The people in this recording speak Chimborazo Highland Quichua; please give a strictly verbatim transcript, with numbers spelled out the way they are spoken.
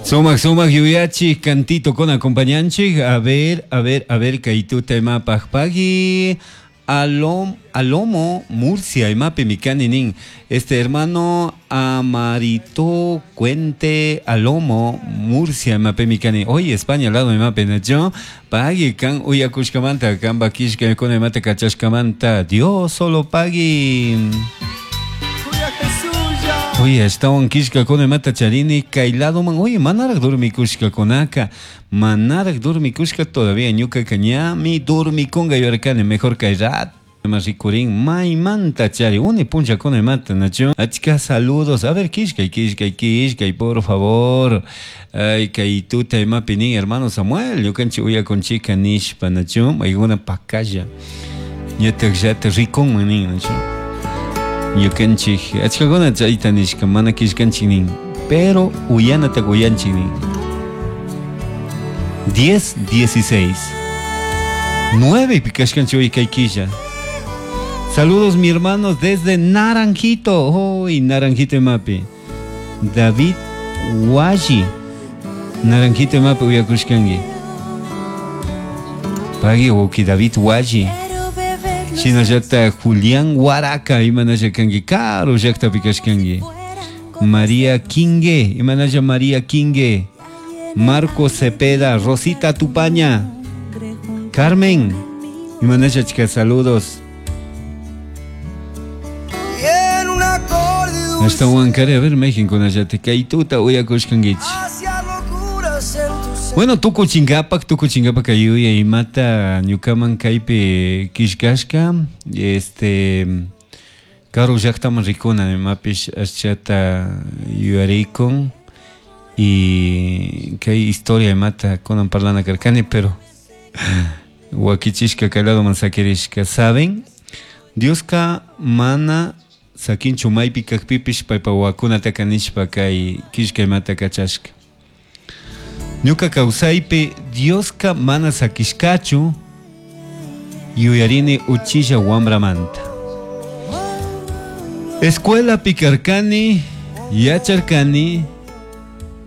Sumak sumak yuyachi cantito con acompañanchik. A ver, a ver, a ver, kaytuta imapaj pagui. Alom, Alomo, Murcia, imapi mikani nin. Este hermano Amarito Cuente Alomo, Murcia, imapi mikani. Oye, España, lado imapi nacho. Pagui kan uyakushkamanta, kan bakishka con imata kachashkamanta. Dios solo pagui. Oye, ashtawan kishkakuna imata charini kay ladoman. Oye, manaraj dormikushkakunaka. Manaraj dormikushka todavía ñukaka ñami dormikunga yuyarkani. Mejor kay rato rikurin maymanta chari uni punllakuna imata nachu. Achka saludos. A ver, kishkay, kishkay, kishkay, por favor. Ay, kay tuta imapi nin hermano Samuel, ñukanchik uyakunchika nishpa nachu. Maykuna pakalla. Ñatak llata rikunman nin nachu. Ñukanchik achkakuna chayta nishka mana kishkanchik nin, pero uyanata uyanchik nin. diez, dieciséis. nueve pikashkanchik hoy kay killa. Saludos mi hermanos desde Naranjito. Hoy Naranjito imapi. David Waji. Naranjito imapi uyakushkanki. Pagui uki David Waji. Shinallata Julián Huaraca, imanalla kanki, karu llaktapi kashkanki. María Quingue, imanalla María Quingue. Marco Cepeda, Rosita Tupaña. Carmen, imanalla chica, saludos. Hasta Huancaré, a ver, México, nallate, kaytuta uyakushkankichik. Bueno, tuku chingapak, tuku chingapak ayuya imata ñukaman kaypi kishkashka, este karu llaktaman rikuna imapish ashchata yuyarikun y kay historia imata kunan parlana karkani, pero wakichishka kay ladoman sakirishka. ¿Saben? Dioska mana sakinchu maypi kakpipish paypa wawakunataka nishpa kay kishka imata kachashka. Ñuka kawsaypi Dioska mana sakishkachu yuyarini uchilla wambramanta. Escuela pikarkani, yacharkani,